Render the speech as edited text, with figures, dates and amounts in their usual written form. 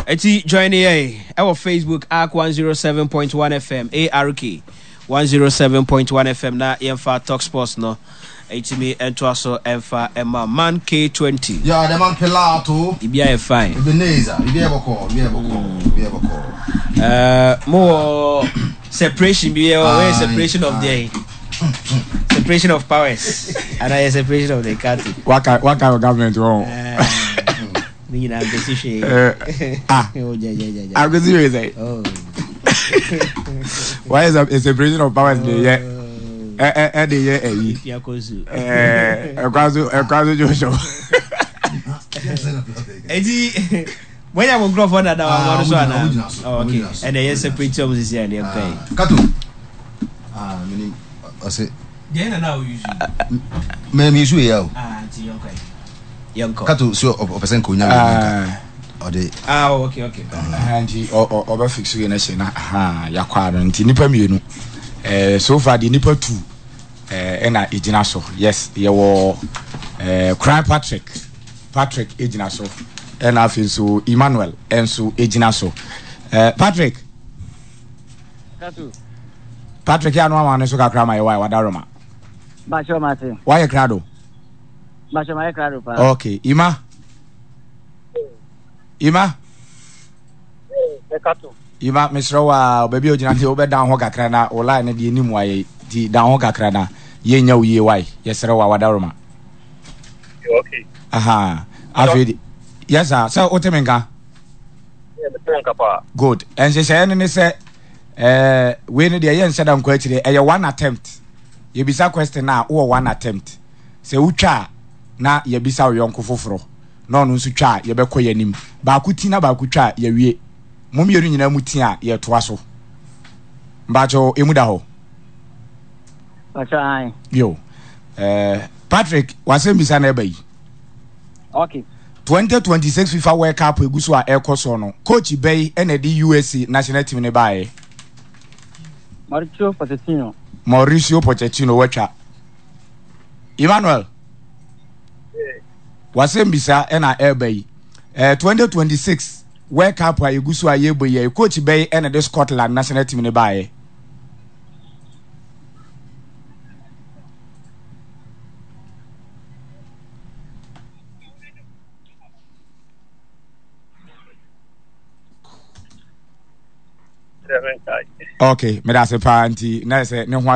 Eti join yɛn ɛwɔ Facebook ARK 107.1 FM ARK 107.1 FM na yɛmfa Talk Sports no ɛtumi ɛntoa so ɛmfa ɛma Man K20. Yeah, the man Pilato. Ibi ayɛ fine. Ebenezer, ibi ayɛ bɔkɔ, ibi ayɛ bɔkɔ, ibi ayɛ bɔkɔ. Ɛɛ mo wɔ separation bi yɛ wɔ separation of the separation of powers and I separation of the country. Waka waka wɔ government wɔ. Ne nyinaa nkosi hwee. Ah, akosi hwee sɛ. Why is a separation of powers de yɛ ɛ ɛ de yɛ ɛyi? Ɛkwa so ɛkwa so joshua. Eti wọ́n yà wọ́n nkurɔfoɔ dada wɔ àwọn so ana? Oh, okay, ɛnna ɛyɛ separate ɔmo sisi ɛnna ɛkɔ yi. Kato. Ah, mini ɔsɛ. Deɛ na na o yusu. Mɛ mi yusu yɛ o. Ah, nti yɛn kɔ yi. Yɛnkɔ. Kato so ɔpɛ sɛ nka onya wei nka ɔde. Ah, oh, okay, okay. Nti ɔbɛ fix wei no hyɛ na yakɔ ano nti nipa mmienu so far deɛ nipa tu ɛna egyina so yes yɛwɔ Kran Patrick Patrick egyina so ɛna afei nso Emmanuel ɛnso egyina so Patrick Kato. Patrick yɛ ano ama ne so kakra ma yɛ wa wadaroma. Bakyɛ mate. Wayɛ krado. Bakyɛ mayɛ krado paa. Okay, Ima. Ima. Ima, mesrɛ wo a baabi a ogyina deɛ wobɛdan ho kakra na wo line no deɛ nim wayɛ nti dan ho kakra na yɛnya wo yie wae yɛsrɛ wo a wadaroma. Okay. Aha. Afei de yes sir, sɛ wote me nka? Good. Nhyehyɛeɛ no ne sɛ eh, wei no deɛ yɛnhyɛ da nkɔ akyire ɛyɛ one attempt. Yɛbisa question a wowɔ one attempt. Sɛ wotwa a, na yɛabisa wo yɔnko foforɔ, na ɔno nso twa a, yɛbɛkɔ yɛn anim. Baako ti na baako twa a, yɛawie. Mo mmienu nyinaa mu ti a, yɛtoa so. Mpakyɛw, emu da hɔ? Mpakyɛw, ae. Yo. Eh, Patrick, w'asɛm bisa na ɛba yi. Okay. 2026 FIFA World Cup egu so a ɛrekɔ soɔ no, coach bɛyi ɛna ɛde USA national team no baeɛ? Mauricio Pochettino. Mauricio Pochettino watwa. Emmanuel, wasɛm bisa ɛna ɛreba yi. 2026 World Cup a yɛgu so a yɛrebɔ yi, coach bɛyi ɛna de Scotland national team no baeɛ. Okay, meda ase paa nti na sɛ ne ho